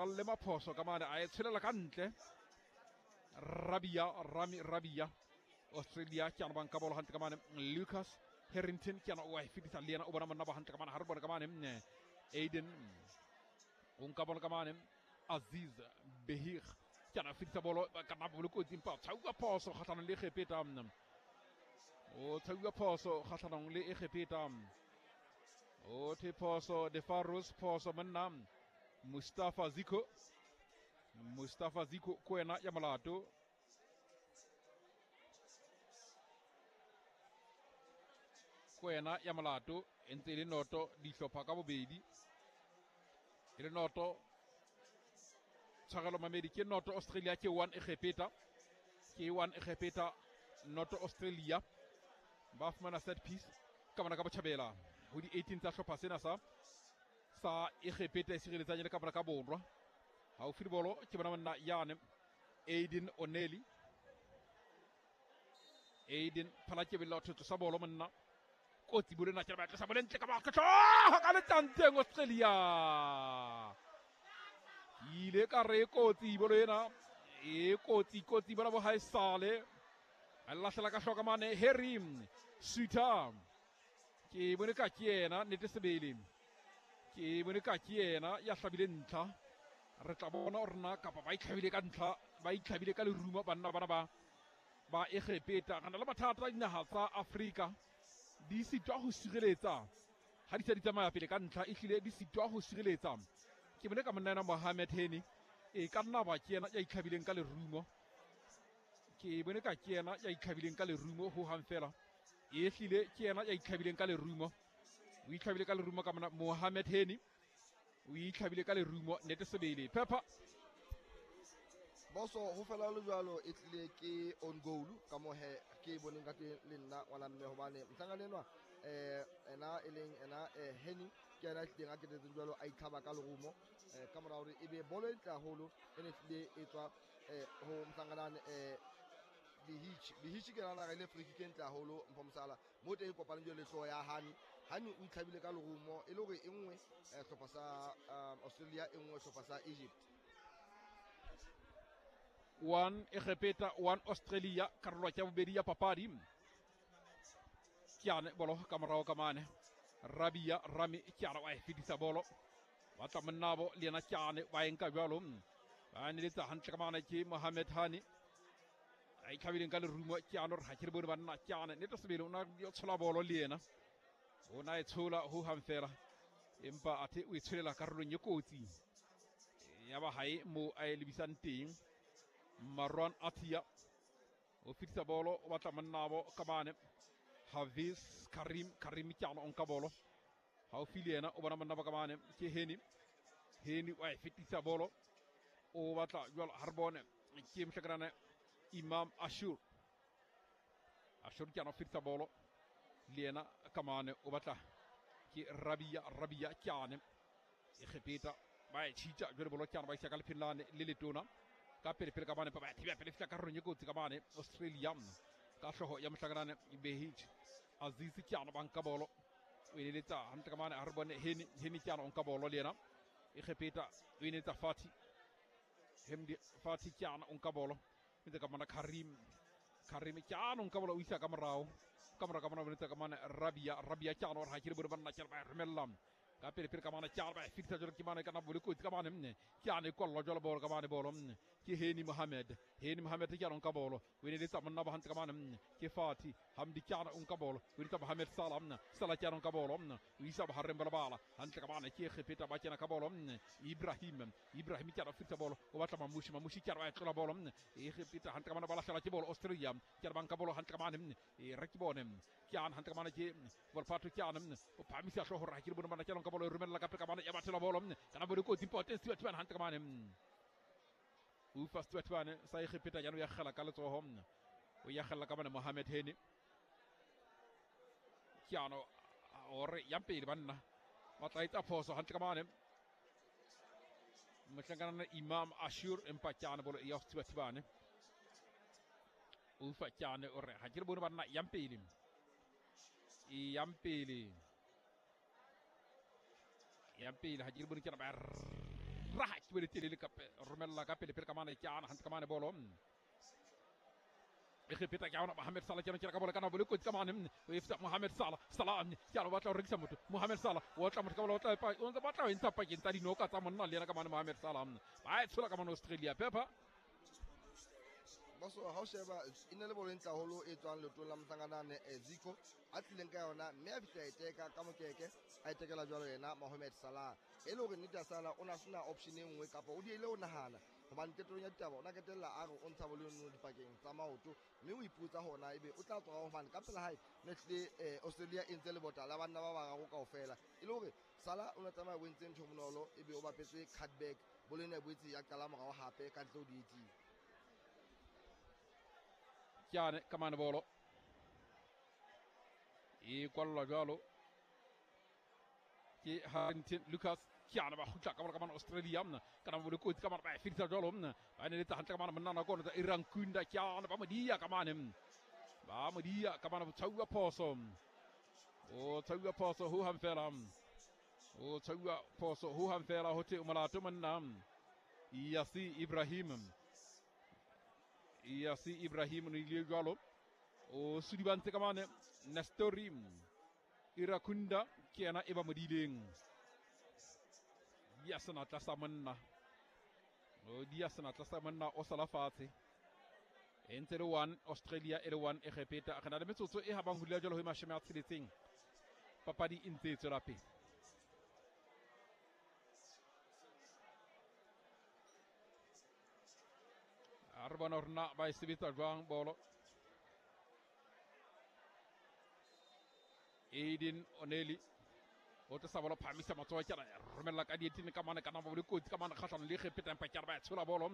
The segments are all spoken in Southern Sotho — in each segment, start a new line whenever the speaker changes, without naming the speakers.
Ralle maphoso ka mane a e tshelela ka ntle. Rabia Rami Rabia Australia ke ana banka bolo hantle ka mane. Lucas Harrington ke ana o a e fetisa le yena o bona monna ba hantle ka mane ha re bone ka mane. Aiden o nka bolo ka mane. Aziz Behir ke ana fetisa bolo ka nna bolo kotsi empa tshauwa phoso kgahlanong le Egepeta. O tshauwa phoso kgahlanong le Egepeta. O the phoso De Faros phoso monna Mustafa Ziko. Mustafa Ziko ko wena ya molato. Ko wena ya molato e ntse e le noto dihlopha ka bobedi. E le noto tshwarelo mamedi ke noto Australia ke 1 Egepeta. Ke 1 Egepeta noto Australia. Ba fumana set piece ka bona ka botjhabela ho di 18 tsa hlopha sena sa Egepeta e sireletsang le ka bona ka borwa. Haufi le bolo ke bona monna yane Aiden Oneli. Aiden phala ke bella thotso sa bolo monna. Kotsi bolo na ke ba tlosa bolo ntle ka ba ka letsanteng Australia. Ile ka re kotsi bolo ena e kotsi kotsi bona bo ha sale. A lahlela ka hloka mane Harry Suter. Ke bone ka ke yena nnete sebele. Ke bone ka ke yena ya hlabile ntlha. Re tla bona hore na kapa ba itlhabile ka ntlha, ba itlhabile ka lerumo banna bana ba Egepeta. Re na le mathata a dinaha tsa Afrika di sitwa ho sireletsa ha di se di tsamaya pele ka ntlha, ehlile di sitwa ho sireletsa. Ke bone ka monna ena Mohamed Heni e ka nna ba ke yena ya itlhabileng ka lerumo. Ke bone ka ke yena ya itlhabileng ka lerumo ho hang fela. Ehlile ke yena ya itlhabileng ka lerumo. O itlhabile ka lerumo ka monna Mohamed Heni. O itlhabile ka lerumo nnete sebele. Pepper
Boso ho fela le jwalo e tlile ke on goal ka mohe ke boneng ka teng le nna ngwana mme hobane mohlankana enwa ena e leng ena Heni ke ena tlileng a ketetseng jwalo a itlhaba ka lerumo ka mora hore ebe bolo e ntle haholo e ne tlile e tswa ho mohlankana Behich ke nana re le free kick e ntle haholo Mpho Mosala mo teng kopane jwale le hlooho ya Hani. Hani o itlhabile ka lerumo e le hore e nngwe hlopha sa Australia e nngwe hlopha sa Egypt.
1 Egepeta 1 Australia karolo ya bobedi ya papadi. Ke ane bolo ka morao ka mane. Rabia Rami ke ana wa e fetisa bolo. Ba tla monnabo le yena ke ane ba enka jwalo. Ba neletsa hantle ka mane ke Mohamed Hani. A itlhabileng ka lerumo ke ano re ha ke re bone banna ke ane nnete sebele o na tshola bolo le yena. O na e tshola ho hang fela empa athe o e tsholela karolong e kotsi. Ya ba hae mo a e lebisang teng. Marwan Atia o fetisa bolo o batla monnabo ka mane. Hafiz Karim Karim ke ana o nka bolo. Haufi le yena o bona monnabo ka mane ke Heni. Heni wa e fetisa bolo o batla jwalo ha re bone ke mohlankana Imam Ashur. Ashur ke ana o fetisa bolo le yena ka mane o batla ke Rabia Rabia ke ane Egepeta ba e tshitja jwale bolo ke ana ba isa ka lephelane le letona ka pele pele ka mane ba thibela pele fihla karolong e kotsi ka mane Australia ka hlooho ya mohlankana Behich. Aziz ke ana ba nka bolo o eletsa hantle ka mane ha re bone Heni Heni ke ana o nka bolo le yena Egepeta o eletsa Fati Hemdi Fati ke ana o nka bolo ntse ka mona Karim Karim ke ana o nka bolo o isa ka morao ka morao ka mona o ka mane Rabia Rabia ke ana hore ha ke re bone banna ke ba romella ka pele pele ka mane ke ana ba fitisa jwalo ke mane ka na bolo kotsi ka mane mne ke ana e kwallwa jwalo bolo ka mane bolo mne ke Heni Mohamed Heni Mohamed ke ana o nka bolo o eletsa monna ba hantle ka mane mne ke Fati Hamdi ke ana o nka bolo o eletsa Mohamed Salah mne Salah ke ana o nka bolo mne o isa bohareng ba lebala hantle ka mane ke Egepeta ba kena ka bolo mne Ibrahim Ibrahim ke ana o fitisa bolo o batla Mamushi Mamushi ke ana ba e tlola bolo mne Egepeta hantle ka mane ba lahlela ke bolo Australia ke ana ba nka bolo hantle ka mane mne e re ke bone ke ana hantle ka mane ke Volpato ke ana mne o phamisa hlooho hore ha ke le bone bana ke ana nka bolo e romella ka pele ka mane ya bathela bolo mne kana bolo kotsi important Stuart Bane hantle ka mane Ufa Stuart Bane sa Egepeta jano ya kgela ka letsoho mne o ya kgela ka mane Mohamed Heni ke ano ore ya pele banna ba tla etsa phoso hantle ka mane mohlankana Imam Ashur empa ke ana bolo ya Stuart Bane Ufa ke ane ore ha ke re bone banna ya pele e ya pele ya pele ha ke re bone ke ba raha ke bele telele ka romella ka pele pele ka mane ke ana hantle ka mane bolo. Egepeta ke ona Mohamed Salah ke ka bola kana bole kotsi ka mane o efsa Mohamed Salah Salah ke a batla ho rekisa motho Mohamed Salah o tla motho ka bola o tla o ntse batla ho ntsha pakeng tsa dinoka tsa monna le yena ka mane Mohamed Salah ba e tshola ka mane Australia Pepper
Boso ha o sheba e ne le bolo e ntle haholo e tswang leotong la mohlankana Zico a tlileng ka yona mme a fihla e teka ka mokeke a e tekela jwalo yena Mohamed Salah e le hore nnete ya Salah o na sena option e nngwe kapa o diehile ho nahana hobane qetellong ya ditaba o na qetella a re o ntsha bolo eno dipakeng tsa maoto mme o ipotsa hona ebe o tla tswa hobane ka pela hae ne tlile Australia e ntse lebota la banna ba bararo kaofela e le hore Salah o ne tsamaya o entse ntho bonolo ebe o bapetse cutback bolo ena e boetse ya qala morao hape ka ntle ho di-eighteen.
Kyane ka mane bolo e kwallwa jwalo ke Harrington Lucas Kyane ba kgutla ka bola ka mane Australia kana bole kotsi ka mane ba e fedisa jwalo ba neletsa hantle ka mane monna nako tsa Iran Kunda Kyane ba modia ka mane ba modia ka mane botshauwa phoso o tshauwa phoso ho hang fela o tshauwa phoso ho hang fela ho the molato monna Yasi Ibrahim Yasi Ibrahim no ile jwalo o sudibantse ka mane Nestori Irakunda ke yena e ba modileng dia senatla sa monna o dia senatla sa monna o sala fatshe e ntse le 1 Australia e le 1 Egepeta re na le metsotso e habang ho dula jwalo ho 60 papadi e ntse e tswela pele. A re bona hore na ba e sebetsa jwang bolo. Aiden Oneli o tla sa bolo phamisa matsoho ke romella ka dietini ka mane kana bolo kotsi ka mane kgahlano le Egepeta empa ke ba tshola bolo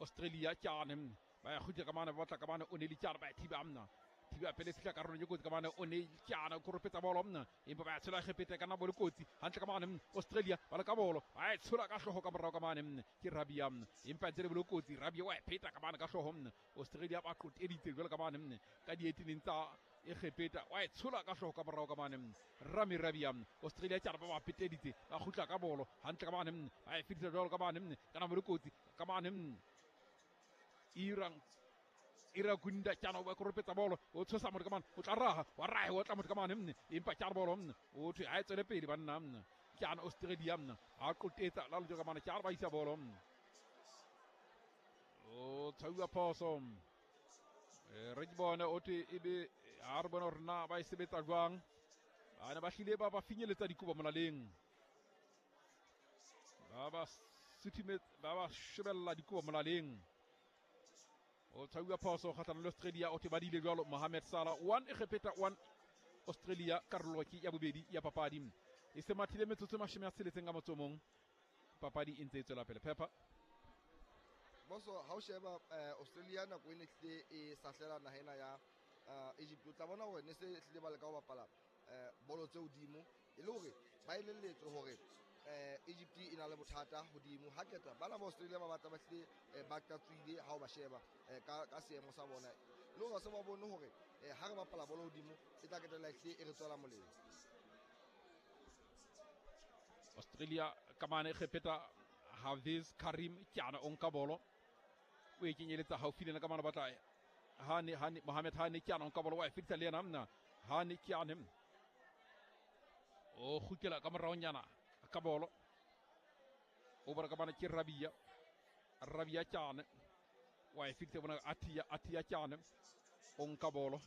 Australia ke ane ba ya kgutla ka mane ba batla ka mane Oneli ke ba thiba mna thiba pele fihla karolong e kotsi ka mane Oneli ke ane o koropetsa bolo empa ba tshola Egepeta kana bolo kotsi hantle ka mane Australia ba le ka bolo ba tshola ka hlooho ka morao ka mane ke Rabia empa ntse le bolo kotsi Rabia wa e pheta ka mane ka hlooho Australia ba qoteditse jwalo ka mane ka dietineng tsa Egepeta wa e tshola ka hlooho ka morao ka mane Rami Rabia Australia ke ba peteditse ba kgutla ka bolo hantle ka mane ba e fedisa jwalo ka mane kana bolo kotsi ka mane Iran Irakunda ke ana ba koropetsa bolo o tshosa motho ka mane o tla raha wa raha o tla motho ka mane empa ke bolo o thwe ha e tswele pele banna ke ana Australia a qotetsa la lotho ka mane ke ba isa bolo o tshauwa phoso re ke bone o thwe ebe ha re bone hore na ba e sebetsa jwang ba ne ba hlile ba ba finyeletsa dikobo molaleng ba ba suthimetse ba ba shebella dikobo molaleng o tshauwa phoso kgahlano le Australia o thwe ba dile jwalo Mohamed Salah 1 Egepeta 1 Australia karolo ke ya bobedi ya papadi e se mathile metsotso 66 ka motso mong papadi e ntse e tswela pele Pepper
Boso ha o sheba Australia nako e ne tlile e sahlela naha ena ya Egypt o tla bona hore ne se tlile ba leka ho bapala bolo tse hodimo e le hore ba elelletswe hore Egypt e na le bothata hodimo ha keta bana ba Australia ba batla ba tlile ba qatswile ha o ba sheba ka seemo sa bona le hore se ba bone hore ha re bapala bolo hodimo e tla ketela tlile e re tswela molemo.
Australia ka mane Egepeta Hafiz Karim ke ana o nka bolo o e kenyeletsa haufi le yena ka mane batla Hani Hani Mohamed Hani ke ana o nka bolo wa e fedisa le yena mna Hani ke ane o kgutlela ka moraonyana ka bolo o bona ka mane ke Rabia Rabia ke ane wa e fedisa bona Atia Atia ke ane o nka bolo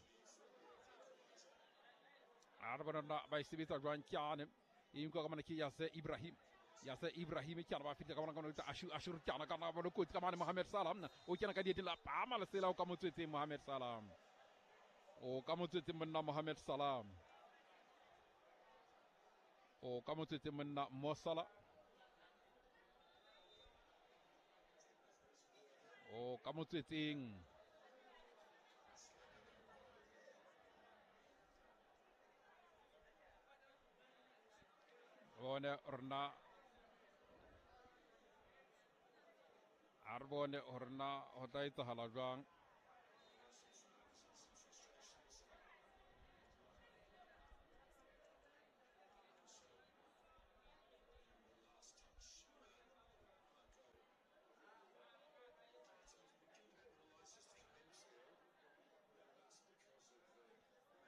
a re bona na ba e sebetsa jwang ke ane e nka ka mane ke Yase Ibrahim Yase Ibrahim ke ana ba fitla ka bona ka mane Ashu Ashur ke ana ka na bolo kotsi ka mane Mohamed Salah o kena ka dieteng la pama lesela o ka motswetseng Mohamed Salah o ka motswetseng monna Mohamed Salah o ka motswetseng monna Mo Salah o ka motswetseng bone rona a re bone hore na ho tla etsahala jwang.